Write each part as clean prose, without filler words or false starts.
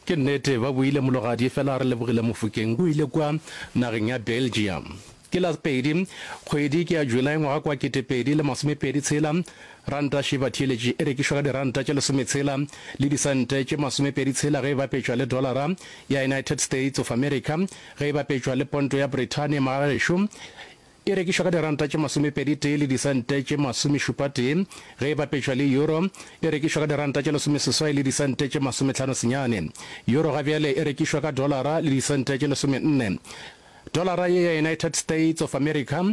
Ke nnete, ba boile Mologadi, efela re lebogile Mofokeng o ile kua nageng ya Belgium. Ke la pedi, kgwedi ke ya July ngwaga kwa 2026, ranta še batheeletši e rekišwa ka diranta tše lesometshela le disente tše masomepeditshela ge e bapetšwa le dolara ya United States of America, ge e bapetšwa le ponto ya Brithani magagešo E rekišwa ka diranta tše masomepedi-tee le disente tše masomešupa-tee, ge e bapetšwa le euro, e rekišwa ka diranta tše lesomeseswai le disente tše masomehlano-senyane. Euro ga bjale e rekišwa ka dolara le disente tše lesomenne. Dolara ye ya United States of America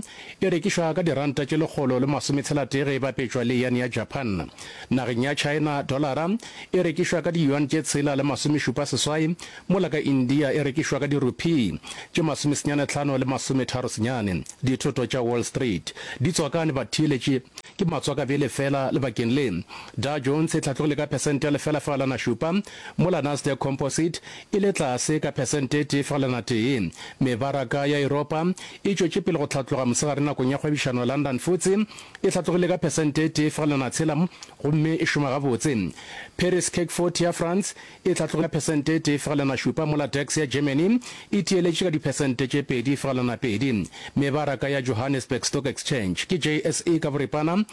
e rekišwa ka diranta tše lekgolo le masometshela-tee ge e bapetšwa le yen ya Japan. Nageng ya China, dolara e rekišwa ka di-yuan tše tshela le masomešupa-seswai, Mola ka India e rekišwa ka dirupee tše masomesenyanetlhano le masometharo-senyane. Dithoto tša Wall Street di tswakane batheeletši ke matswakabjele feela lebakeng le. Dow Jones e hlatlogile ka phesente ya lefela-fegelwana šupa, mola Nasdaq Composite e le tlase ka phesente e tee fegelwana tee. Mebaraka ya Yuropa e tšwetše pele go hlatloga mosegare nakong ya kgwebišano London FTSE e hlatlogile ka phesente e tee fegelwana tshela gomme e šoma gabotse. Paris CAC 40 ya France e hlatlogile ka phesente e tee fegelwana šupa mola DAX ya Germany e tieletše ka diphesente tše 2,2. Mebaraka ya Johannesburg Stock Exchange, ke JSE ka boripana,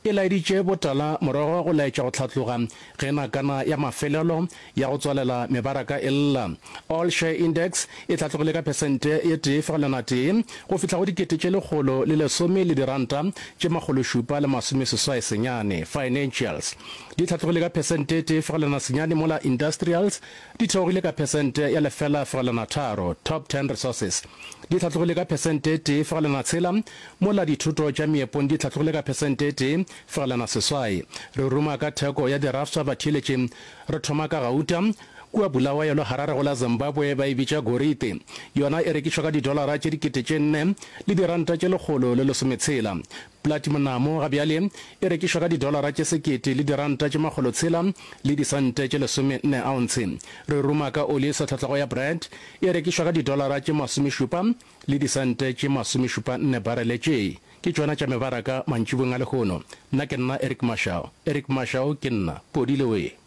e laeditše botala morogo go laetša go hlatloga ge nakana ya mafelelo ya go tswalela mebaraka e lla. All Share Index e hlatlogile ka phesente ye tee fegelwana tee go fihla go 1,110 le diranta tše makgološupa le masomeseswai senyane. Financials di hlatlogile ka phesente e tee fegelwana senyane mola Industrials di theogile ka phesente ya lefela fegelwana tharo. Top Ten Resources di hlatlogile ka phesente e tee fegelwana tshela mola dithoto tša meepong di hlatlogile ka phesente e tee fegelwana seswai. Re ruma ka theko ya dirafsa batheeletši re thoma ka gauta. Kua Bulawayo le Harare go la Zimbabwe ba e bitša gorite. Yona e rekišwa ka didolara tše 4000 le diranta tše 160. Platimonamo ga bjale e rekišwa ka didolara tše sekete le diranta tše makgolotshela le disente tše lesomenne aontshe. Re ruma ka oli e sa tlhotlego ya Brent e rekišwa ka didolara tše masomešupa le disente tše masomešupa nne barele. Tše ke tšona tša mebaraka mantšiboeng a lehono. Nna ke nna Eric Mashau. Eric Mashau ke nna. Podile wee.